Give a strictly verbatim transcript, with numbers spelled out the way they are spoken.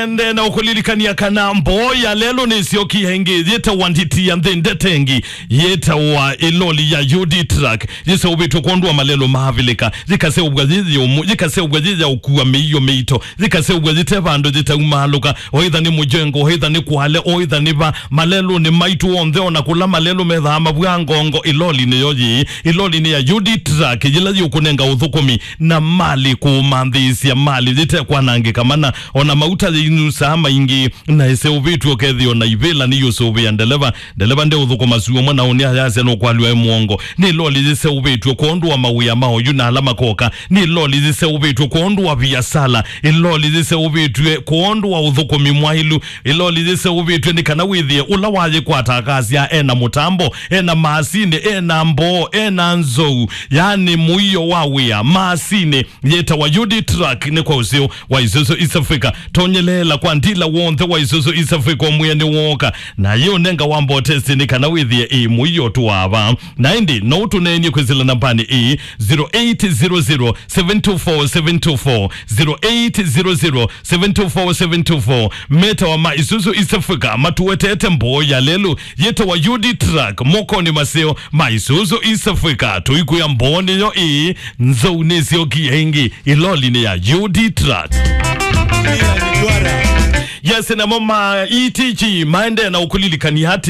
Ende na ũkũlilikania kana mboo ya lelũ nĩsyokie ĩngĩ, yĩtawa nditi ya nthĩ ndetengi, yĩtawa ĩloli ya U D truck, yĩseũvĩtw'e kwondũ wa malelũ ma Avilika, yĩkaseũvw'a yĩ yũmũ, yĩkaseũvw'a yĩ ya ũkua mĩio mĩito, yĩkaseũvw'a yĩte vandũ yĩtaumaalũka, oĩtha nĩ mũjengo, oĩtha nĩ kwale, oĩtha nĩ va, malelũnĩ maitũ onthe, ona kũla malelũ methaa mavw'a ngongo, ĩloli nĩyo yĩĩ, ĩloli nĩ ya U D truck, yĩla yĩũkũnenga ũthũkũmi na mali kũũmanthĩĩsya mali yĩtekwanangĩka mana, ona mauta yĩinusaa maingĩ, na ĩseũvĩtw'e ũkethĩa ona ivĩla nĩyũsũvĩa ndeleva. Ndeleva ndeũthũkũma syũmwe na ũnĩ ayasya nũkwalw'a e mũongo. Nĩ loli yĩseũvĩtw'e kwondũ wa mawĩa ma oyu na ala makoka. Nĩ loli yĩseũvĩtw'e kwondũ wa viasala. Ĩloli yĩseũvĩtw'e kwondũ wa ũthũkũmi mwaĩlu. Ĩloli yĩseũvĩtw'e nĩ kana wĩthĩe ũla wayĩkwata akasya ena mũtambo, ena maasini, ena mboo, ena nzou, yani mũio wa wĩa, maasini yĩtawa U D truck nĩ kwa ũseo wa Isuzu East Africa. Tonyeleela kwa ndila w'onthe wa Isuzu East Africa ũmwĩe nĩ wooka, na yĩũnenga wambo testi nĩ kana wĩthĩe ĩ mũio tu wava. Na ĩndĩ no ũtũneenie kwĩsĩla nambanĩ ĩ, zero eight zero zero, seven two four, seven two four, zero eight zero zero, seven two four, seven two four. Metawa ma Isuzu East Africa matuetete mboo ya lelũ yĩtawa U D truck mokonĩ maseo ma Isuzu East Africa. Tũikwĩa mboo nĩyo ĩĩ, nzou nĩsyokie ĩngĩ ĩlolinĩ ya U D truck. Yes, namo ma E T G maendee na ũkũlilikania atĩ